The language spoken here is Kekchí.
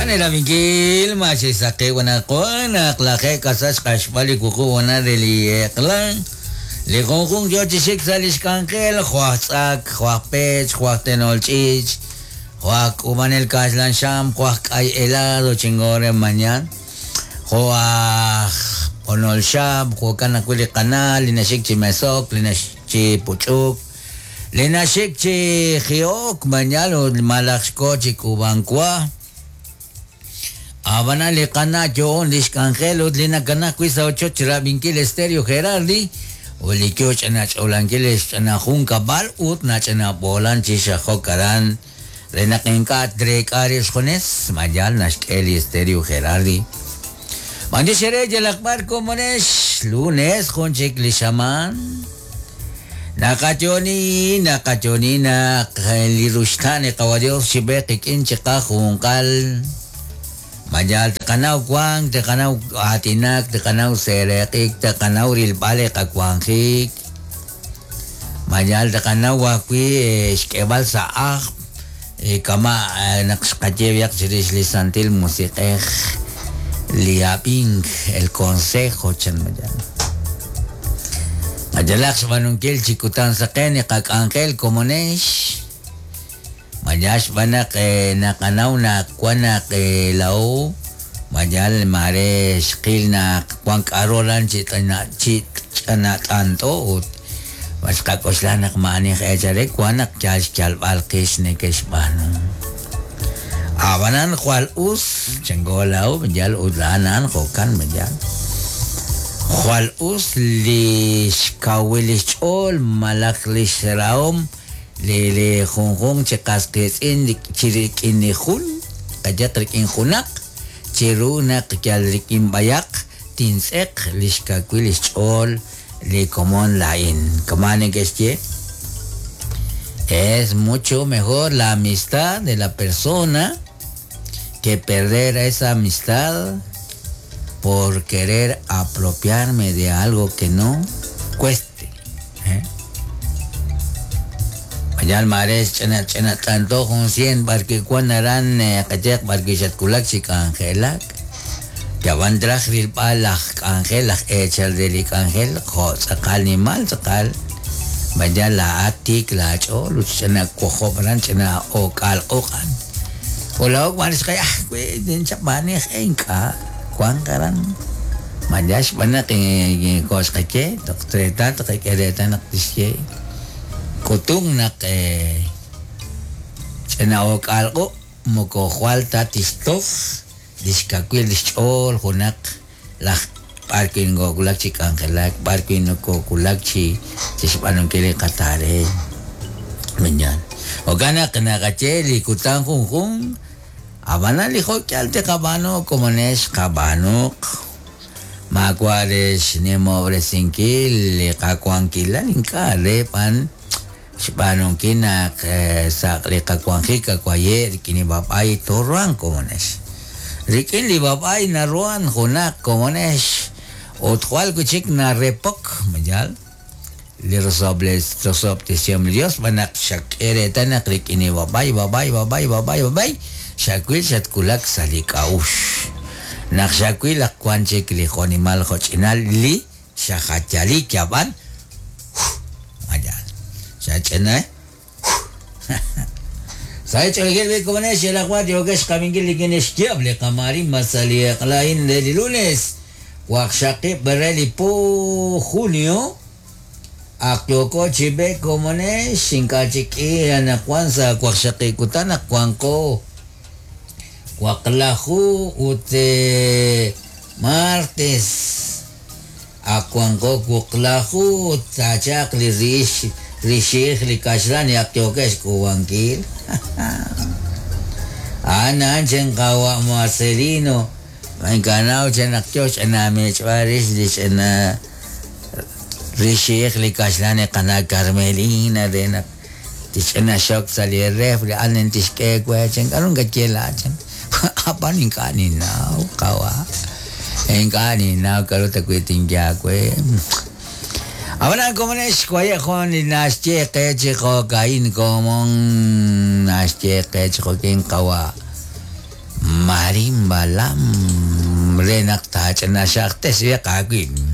Anelavinkil maxisaqi wanaqwan naq lajeeb' k'asal xq'axb'al li wuqub' honal re li eq'la. Li junjunq yo chi xik sa' li xk'anjel, jo' aj tz'ak, jo' aj pech, jo' aj tenol ch'iich', jo' aj k'uub'anel kaxlan xam, jo' aj k'ay helado chingore mañan, jo' aj b'onol xab', jo'kan ajwi' li qana' li naxik chi mesok, li naxik chi puch'uk, Li naxik chi jihok mañal ut malaj xko chi k'uub'ank wa. Ab'anan li qana' yo'on li xk'anjel ut li nakana wi' sa' ochoch rab'inkil Estéreo Gerardi ut li yo ch'ina ch'olankil li xch'ina junkab'al ut nach'ina b'oolan chi xajok aran re naq ink'a' treek'a rib' xjunes mañal naxk'e li Estéreo Gerardi. B'antiox eere yalaq b'ar komonex lunes jun chik li xamaan. Naqayo'oni, naqayo'oni naq li ruxtaan li Qawa' Dios xib'e qik'in chiqajunqal. Ma yaal tqanaw wank, tqanaw aatinak, tqanaw seeraq'ik, tqanaw rilb'al li qawanjik. Ma yaal tqanaw ajwi' xk'eb'al sa' ajl kama' naq xqaye b'ayaq chirix li Santil Musiq'ej, li ab'ink, el consejo, chan ma yaal. Qayalaq xb'aanunkil chi kutan saqen li qak'anjel komonex. Ma yaal xb'aan naq naqanaw naq wan naq laa'o ma yaal maare xqil naq wan k'a'ru aran chi ch'anat'ant'o ut Ma xqak'oxla naq maa'ani aj eechal re wank naq yal xyalb'al qix neke'xb'aanu? Ab'anan jwal us, chanko laa'o, yal ut a'an a'an jo'kan, ma yaal? Jwal us li xkawil li xch'ool malaj li xrahom li li junjunq chi qas qiitz'in chi rik'in li jun, qayehaq rik'in junaq, chiru naq yal rik'in b'ayaq tintz'eq li xkawil li xch'ool li komon laa'in. Kama' neke'xye, Es mucho mejor la amistad de la persona que perder esa amistad por querer apropiarme de algo que no cueste. ¿Eh? Yal maare xch'ina ch'ina t'anto jun sien b'arwi' wan aran qayehaq b'arwi' xatwulak chi k'anjelak. Yab'an traj rilb'al laj k'anjel, laj eechal re li k'anjel, jo' tz'aqal nimal tz'aqal, ma yal laa'at tiik laach'ool ut xch'ina wojob' aran ch'ina o'k'aal q'uq'an. Ut laa'o wan xqaye, ah, wi ninchap maani aj e ink'a' wanq aran. Ma yal xb'aan naq jo' xqaye, toq reetal tqak'e reetal naq tixye k'utunk naq ch'ina o'k'aal q'uq' moko jwal ta tixtoj. Li xkawil xch'ool junaq laj b'ar wi' nokowulak chi k'anjelak, b'ar wi' nokowulak chi xb'aanunkil li qataaree. Mañana. Jo'kan naq naqaye li kutan junjunq, ab'anan li jo'k'ihal tiqab'aanu komonex qab'aanuq, maawa' re xnimob'resinkil li qawankilal, ink'a' re b'an Xb'aanunkil naq sa' li qawanjik kawaye' rik'in li b'ab'ay tooruhanq komonex. Rik'in li b'ab'ay naruhan junaq komonex ut jwal wi' chik narepok, ma yaal? Li rosob'tesihom li Dios xb'aan naq xak'e reetal naq rik'in li b'ab'ay, b'ab'ay, b'ab'ay, b'ab'ay, b'ab'ay xawil xatwulak sa' li k'a'uxl. Naq xawil naq wan chik li jo'nimal jo'ch'inal li Xajayali yab'an Mayal. Xach'ina Sa' ch'oolejil wi' komonex yalaq b'ar yookex xqab'inkil rik'in li xyaab' li qamarin sa' li eq'la a'in re li lunes waqxaqib' re li po junio ak yooko chi b'eek komonex ink'a' chik k'i anaqwan sa' waqxaqib' kutan naq wanqo waqlaju ut martes Ak wanko wuqlaju ut taachalq li rix rixi'ij li kaxlan li ak yookeb' xk'uub'ankil. A'an a'an chan qawa' Marcelino, ma ink'a' naw chan naq yoo xch'ina mich'b'al rix li ch'ina rixi'ij li kaxlan li qana' Carmelina re naq tixch'ina xok sa' li refri a'an tixk'e we chan k'a'ru nakaye laa'at chan. Ab'an ink'a' ninnaw, qawa'. Ink'a' ninnaw k'a'ru ta wi' tinye aawe. Ab'anan komonex waye' jun li naxye qe chi jo'ka'in komon naxye qe chi jo'kin qawa' Maria. Arin Balam re naq taach'ina xaq tesb'eq aawib'.